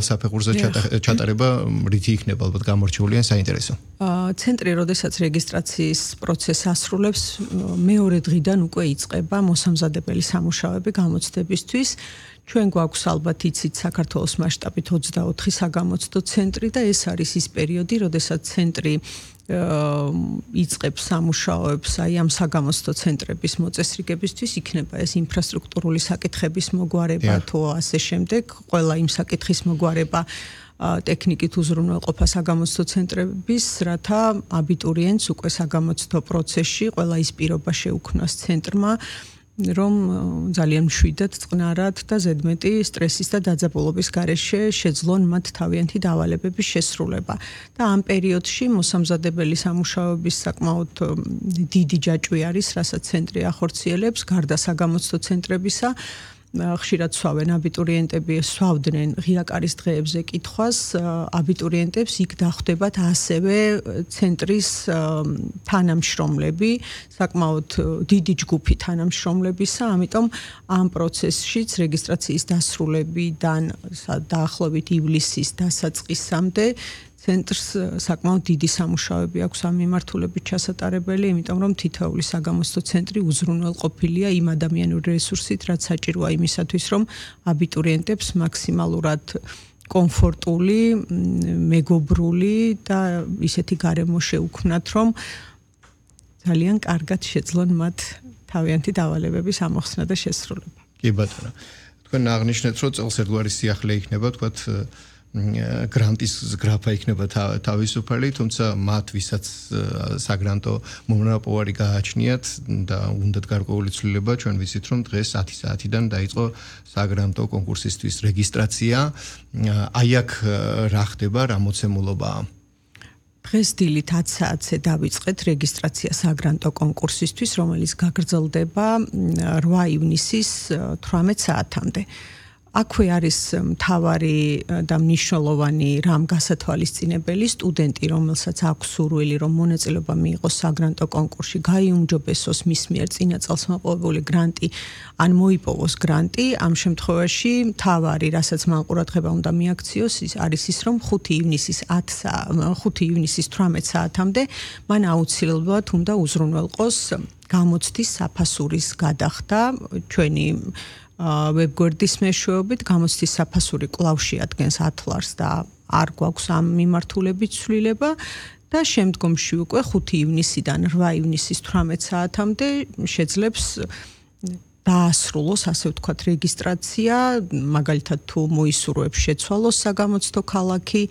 საფეხურზე ჩატარება რითი იქნება ალბათ გამორჩეული ან საინტერესო. ცენტრი, როდესაც რეგისტრაციის პროცესს ასრულებს, მეორე დღიდან უკვე იწყება მოსამზადებელი სამუშაოები გამოცდებისთვის. ჩვენ გვაქვს ალბათ იცით საქართველოს მასშტაბით 24 საგამოცდო ცენტრი და ეს არის ის პერიოდი, როდესაც ცენტრი იწყებს სამუშაოებს აი ამ საგამოცდო ცენტრების მოწესრიგებისთვის, იქნება ეს ინფრასტრუქტურული საკითხების მოგვარება თუ ასე შემდეგ, ყველა იმ საკითხის მოგვარება ტექნიკით უზრუნველყოფა საგამოცდო ცენტრების, რათა აბიტურიენტს უკვე საგამოცდო პროცესში ყველა ის პირობა შეუქმნას ცენტრმა, რომ ძალიან მშვიდად, წყნარად და ზედმეტი სტრესის და დაძაბულობის გარეშე შეძლონ მათ თავიანთი დავალებების შესრულება. და ამ პერიოდში მოსამზადებელი სამუშაოების საკმაოდ დიდი ჯაჭვი არის, რასაც ცენტრი ახორციელებს, გარდა საგამოცდო ცენტრებისა. ხშირად სვავენ აბიტურიენტები, სვავდნენ ღია კარის დღეებზე კითხვას, აბიტურიენტებს იქ დახვდებათ ასევე ცენტრის თანამშრომლები, საკმაოდ დიდი ჯგუფი თანამშრომლებისა, ამიტომ ამ პროცესშიც რეგისტრაციის დასრულებიდან დაახლოებით ივლისის დასაწყისამდე ცენტრს საკმაოდ დიდი სამუშაოები აქვს ამ მიმართულებით ჩასატარებელი, იმიტომ რომ თითოეული საგამოცდო ცენტრი უზრუნველყოფილია იმ ადამიანური რესურსით, რაც საჭიროა იმისათვის, რომ აბიტურიენტებს მაქსიმალურად კომფორტული, მეგობრული და ისეთი გარემო შეუქმნათ, რომ ძალიან კარგად შეძლონ მათ თავიანთი დავალებების ამოხსნა და შესრულება. კი ბატონო. თქვენ აღნიშნეთ, რომ წელს ერთგვარი სიახლე იქნება, თქვათ გრანტის გრაფა იქნება თავისუფალი, თუმცა მათ ვისაც საგრანტო მონოპოლარი გააჩნიათ და უნდათ გარკვეული ცვლილება, ჩვენ ვიცით, რომ დღეს 10 საათიდან დაიწყო საგრანტო კონკურსისთვის რეგისტრაცია. აი აქ რა ხდება, რა მოცემულობაა? დღეს დილით 10 საათზე დავიწყეთ რეგისტრაცია საგრანტო კონკურსისთვის, რომელიც გაგრძელდება 8 ივნისის 18 საათამდე. აქვე არის მთავარი და მნიშვნელოვანი რამ გასათვალისწინებელი სტუდენტი, რომელსაც აქვს სურვილი, რომ მონაწილეობა მიიღოს საგრანტო კონკურსში, გაიუმჯობესოს მის მიერ წინა წელს მოპოვებული გრანტი, ან მოიპოვოს გრანტი. ამ შემთხვევაში მთავარი, რასაც მან ყურადღება უნდა მიაქციოს, არის ის, რომ 5 ივნისის 18 საათამდე მან აუცილებლად უნდა უზრუნველყოს გამოცდის საფასურის გადახდა ჩვენი ვებგვერდის მეშვეობით. გამოცდის საფასური კვლავ შეადგენს 10 ლარს და არ გვაქვს ამ მიმართულებით ცვლილება და შემდგომში უკვე 5 ივნისიდან 8 ივნისის 18 საათამდე შეძლებს დაასრულოს, ასე ვთქვათ, რეგისტრაცია, მაგალითად თუ მოისურვებს შეცვალოს საგამოცდო ქალაქი,